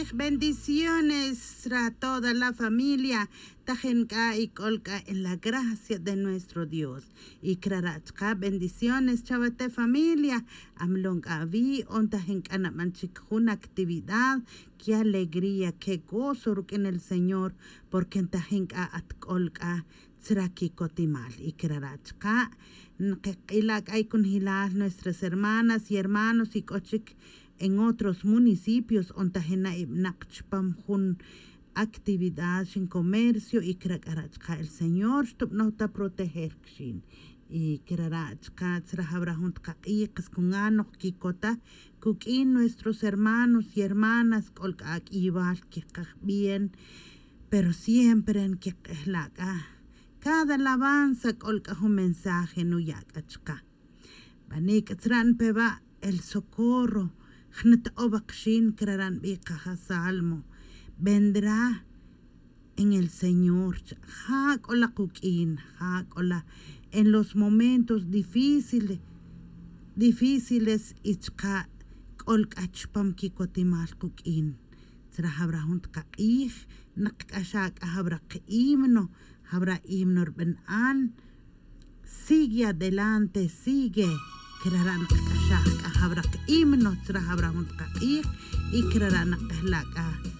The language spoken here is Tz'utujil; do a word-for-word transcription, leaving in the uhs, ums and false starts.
Bendiciones ra toda la familia. Tajin k'a y k'ol k'a en la gracia de nuestro Dios. Y crara' chka bendiciones chawate familia. Amlon k'a wi' on tajin k'a naban chik jun actividad. Qué alegría, qué gozo ruq'uin el Señor. Porque tajin k'a at k'ol k'a tzra kicotimal. Y crara' chka nqeq'ila' k'a y cunjilal nuestras hermanas y hermanos y k'o chik en otros municipios on tajin na' ib'naq chpam jun actividad xin comercio y crara' chka el Señor xtub'noj ta proteger kxin. Y crara' chka tzra jawra jun tqaq'ij qas cunga' noj quicota cuq'uin nuestros hermanos y hermanas k'ol k'a ak'iyibal queqaj bien. Pero siempre nqueq'ejla' c'a cada alabanza k'ol c'a jun mensaje nuya' c'a chka. Bani' c'a tzra' npe wa' el socorro jneta'o wa kxin crara' nbij kaja salmo. Vendrá en el Señor. Ja' k'ola kuq'uin, ja' k'ola en los momentos difíciles difíciles y chka' k'ol k'a chpam kicotimal kuq'uin. Tzra jawra jun tqaq'ij nqk'axa' k'a jawra kihimno. Jawra himno rb'an an. Sigue adelante, sigue. Crara' nqk'axaj k'a jawra kihimno tzra jawra jun tqaq'ij y crara' nqk'ajla' k'a